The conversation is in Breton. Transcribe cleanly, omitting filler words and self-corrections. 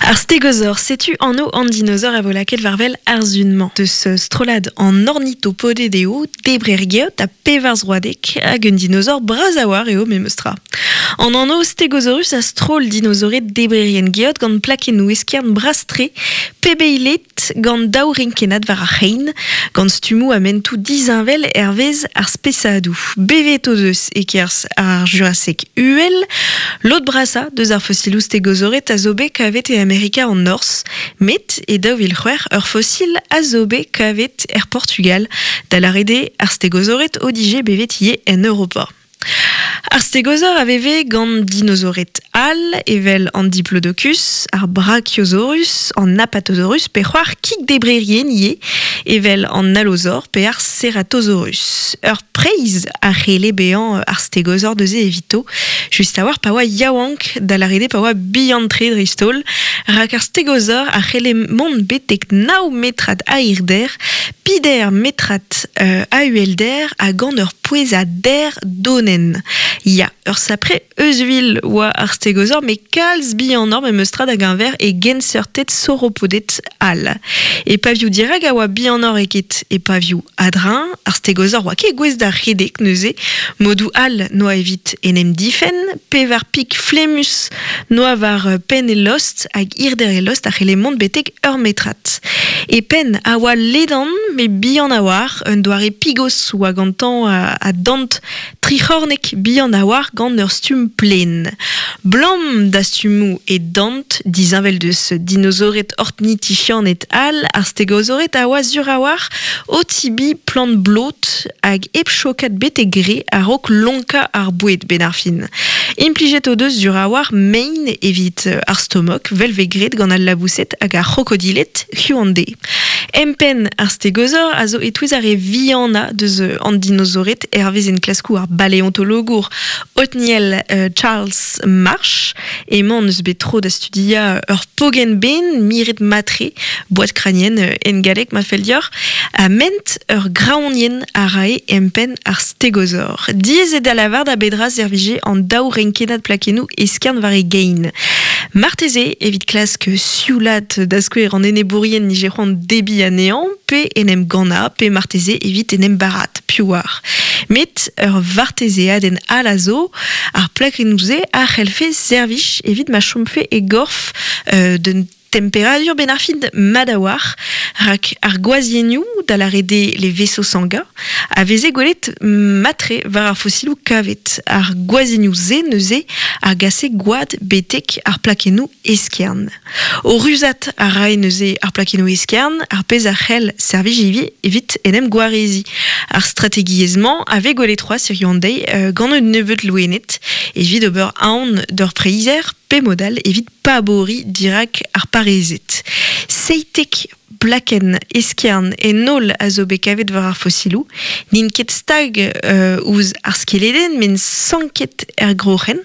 Ar stegozor, setu anv an dinozor a vo lakaet war-wel ar sun-mañ. Deus strollad an ornithopoded eo, debrer geot ha pevarzroadek, hag un dinozor bras a-walc'h eo memes tra. An anv Stegosaurus a stroll dinozored debrerien geot gant plakennoù eskern bras-tre, pebeilet gant daou renkennad war ar c'hein, gant stummoù ha mentoù disheñvel hervez ar spesadoù. Bevet o deus e-kerzh ar Juraseg uhel. Lod brasañ deus ar fosiloù stegozored a zo bet kavet e Amerika an Norzh, met e 2006 ur fosil a zo bet kavet er Portugal, da lâret eo ar stegozored o dije bevet ivez en Europa. Ar stegozor a veve gant dinozored all evel an Diplodocus, ar Brachiosaurus, an Apatosaurus pe c'hoar kigdebrerien ivez evel an Allosaur pe ar Ceratosaurus. Ur preizh a c'helle bezañ ar stegozor neuze evito, just a-walc'h pa oa yaouank, da lâret eo pa oa bihan-tre dreist-holl, rak ar stegozor a c'helle mont betek nav metrad a hirder, Pider metrad a uhelder ha gant ur pouez a der donenn. Ya, ur sapre euzhvil oa ar stegozor met kalz bihanoc'h memes tra da geñver e genseurted sauropoded all. E pavioù dirak a oa bihanoc'h eget e pavioù a-dreñv, ar stegozor oa ket gouest da redek neuze, modoù all n'oa evit en em difenn, pevar pik flemmus n'oa war penn e lost hag hirder e lost a c'helle mont betek ur metrad. E penn a oa ledan met bihan a-walc'h, un doare pigos oa gantañ a dant tric'hornek bihan a-walc'h gant ur stumm plaen. Blam da stummoù e dant, disheñvel deus dinozored ornithichianed all, ar stegozored a oa sur a-walc'h o tibiñ plant blot hag hep chokat betek re a-raok lonkañ ar boued 'benn ar fin. Implijet o deus sur a-walc'h mein evit ar stomok, 'vel 'vez graet gant al laboused hag ar c'hrokodilet hiziv-an-deiz. Empenn ar stegozor a zo e-touez ar re vihanañ deus an dinozored hervez enklaskoù ar baleontologour Othniel Charles Marsh. Emañ n'eus bet tro da studiañ ur pogenn-ben miret mat-tre, boad kranienn en galleg ma fell deoc'h, ha ment ur graoñienn a rae empenn ar stegozor. Diaes eo da lavar da bedra servije an daou renkennad plakennoù eskern war e gein. Marteze evit klask sioulaat da skouer an enebourien nije c'hoant debriñ anezhañ pe en em gannañ pe marteze evit en em barat, piv oar. Met ur vartezeadenn all a zo, ar plakennoù-se a c'hellfe servij evit ma chomfe e gorf d'un Temperadur benn ar fin mat a-walc'h, rak ar gwazhiennoù, da lâret eo les vaisseaux sanguins, a veze gwelet mat-tre war ar fosiloù kavet. Ar gwazhiennoù-se neuze a gase gwad betek ar plakennoù eskern. O ruzat a rae neuze ar plakennoù eskern, ar pezh a c'hell servij ivez evit en em gwareziñ. Ar strategiezh-mañ a vez gwelet c'hoazh hiziv an deiz gant un nebeud loened evit ober aon d'ur preizher pe mod all evit paboriñ dirak ar parezed. 17 plakenn eskern en holl a zo bet kavet war ar fosiloù. N'int ket stag ouzh ar skeledenn met sanket er groc'hen.